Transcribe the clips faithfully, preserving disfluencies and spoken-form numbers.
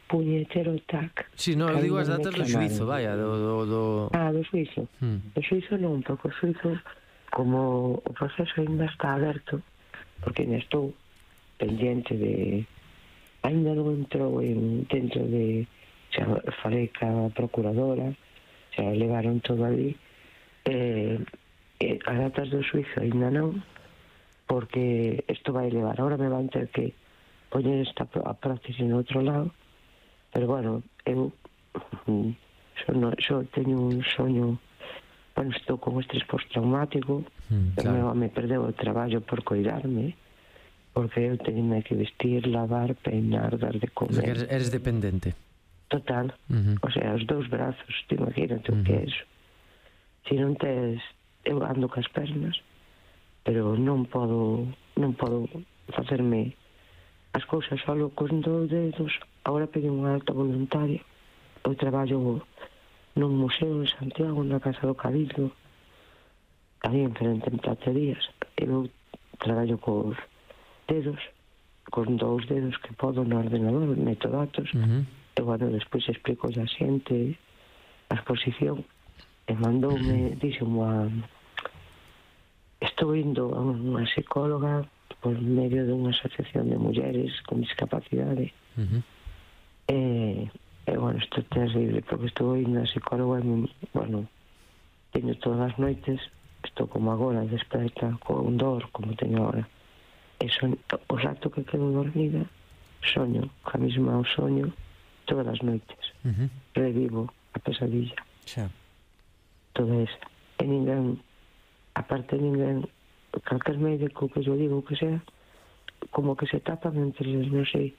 puñetero tac. Si, non, eu digo as datas do xuizo, vaya, do... do, do... Ah, do xuizo. Hmm. Do xuizo non, porque o xuizo, como o proceso ainda está aberto, porque ainda estou pendiente de... Ainda non entrou en, dentro de... Xa falei ca procuradora, xa levaron todo ali, eh, eh, as datas do xuizo ainda non, porque isto vai levar, ahora me van ter que poñer esta a prótesis en outro lado, pero bueno, eu xo, no, xo teño un soño, bueno, estou con estrés postraumático, mm, claro. me, me perdeu o traballo por cuidarme, porque eu teño que vestir, lavar, peinar, dar de comer. Eres, eres dependente. Total, uh-huh. O sea, os dous brazos, te imagínate uh-huh. o que é eso. Se non tes, eu ando cas pernas, pero non podo, non podo facerme as cousas solo con dous dedos. Agora pedí unha alta voluntaria. Eu traballo nun museo en Santiago, na Casa do Cabildo, aí en frente en platerías. Eu traballo cos dedos, con dous dedos que podo no ordenador, meto datos. Uh-huh. E, bueno, despois explico a xente a exposición e mandoume, dixo unha... Estou indo a unha psicóloga por medio de unha asociación de mulleres con discapacidade. Uh-huh. E, e, bueno, isto é terrible, porque estou indo a psicóloga e, bueno, teño todas as noites, estou como agora, desperta con dor, como teño agora. E son, o rato que quedo dormida, soño, ca mesma o soño, todas as noites. Uh-huh. Revivo a pesadilla. Xa. Toda esa. E ninguén, aparte ninguén, calquer médico que yo digo que sea, como que se tapan entre eles, non sei.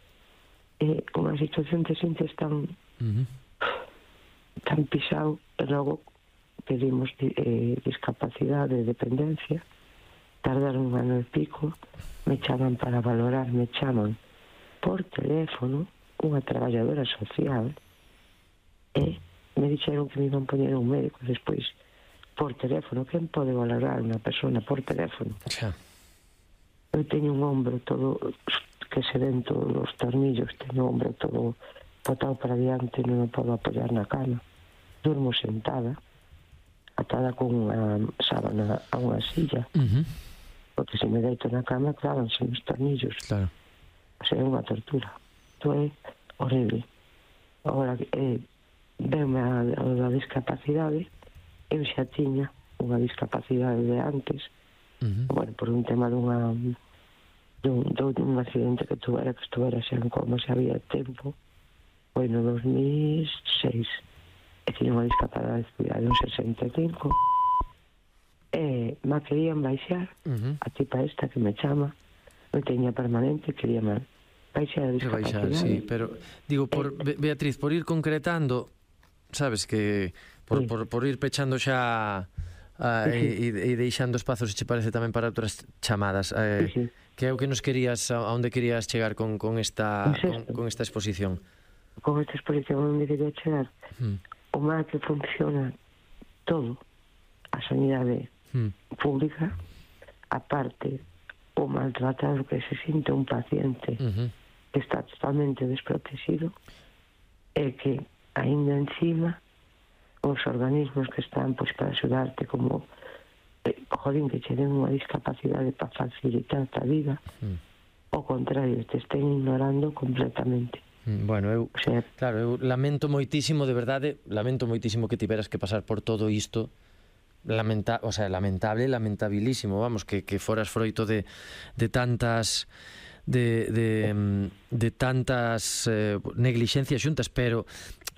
É unha situación te sientes tan uh-huh. tan pisado, e logo pedimos eh, discapacidade, dependencia, tardaron un ano e pico, me chaman para valorar, me chaman por teléfono, unha traballadora social, e me dixeron que me iban poñer un médico despois por teléfono. Quen pode valorar unha persona por teléfono? Xa. Eu teño un ombro todo que se ven todos os tornillos, teño un ombro todo botado para diante, non me podo apoiar na cama, durmo sentada atada con unha sábana a unha silla, uh-huh. porque se me deito na cama clávanse os tornillos. Claro. O sea, é unha tortura. Isto é horrible. Agora, eh, venme a, a, a discapacidade, eu xa tiña unha discapacidade de antes, uh-huh. bueno, por un tema dunha dun, dun accidente que tuvera, que estuvera xa en coma, xa había tempo, foi no dos mil seis, e tiña unha discapacidade de un sesenta e cinco, e me querían baixar, uh-huh. a tipa esta que me chama, non teña permanente, quería mal. Baixar a discapacidade. Sí, pero digo, por eh, Beatriz, por ir concretando, sabes que por, sí. por, por ir pechando xa uh, sí. e, e deixando espazos, se che parece tamén para outras chamadas, eh, sí, sí. que é o que nos querías, a onde querías chegar con, con, esta, con, con esta exposición? Con esta exposición onde quería chegar, hmm. o mal que funciona todo a sanidade hmm. pública, aparte o maltratado que se sinte un paciente uh-huh. que está totalmente desprotegido, e que aínda encima os organismos que están pois para axudarte, como eh, jodín, que che den unha discapacidade para facilitar a vida, uh-huh. ao contrario, te estén ignorando completamente. Bueno, eu, o sea, claro, eu lamento moitísimo, de verdade, lamento moitísimo que tiveras que pasar por todo isto. Lamenta, o sea, lamentable, lamentabilísimo, vamos, que, que foras froito de, de tantas de, de, de tantas eh, neglixencias xuntas, pero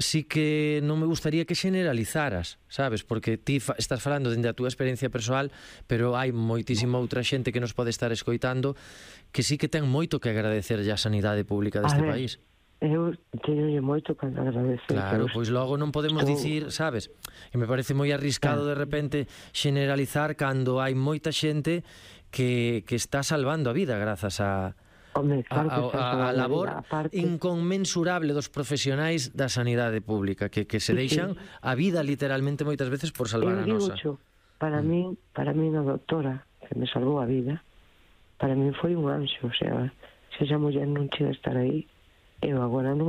sí que non me gustaría que generalizaras, sabes, porque ti fa, estás falando dende a túa experiencia persoal, pero hai moitísima outra xente que nos pode estar escoitando que sí que ten moito que agradecer a sanidade pública deste país. Eu teño moito que agradecer. Claro, pois logo non podemos estou... dicir, sabes, que me parece moi arriscado de repente generalizar cando hai moita xente que, que está salvando a vida grazas a Home, claro a, a, a labor vida, inconmensurable dos profesionais da sanidade pública que, que se deixan sí, sí. a vida literalmente moitas veces por salvar eu a nosa. Cho, para mm. mí, para mí a doctora que me salvou a vida, para mí foi un anxo, o sea, se esa muller non chega a estar aí, eu agora non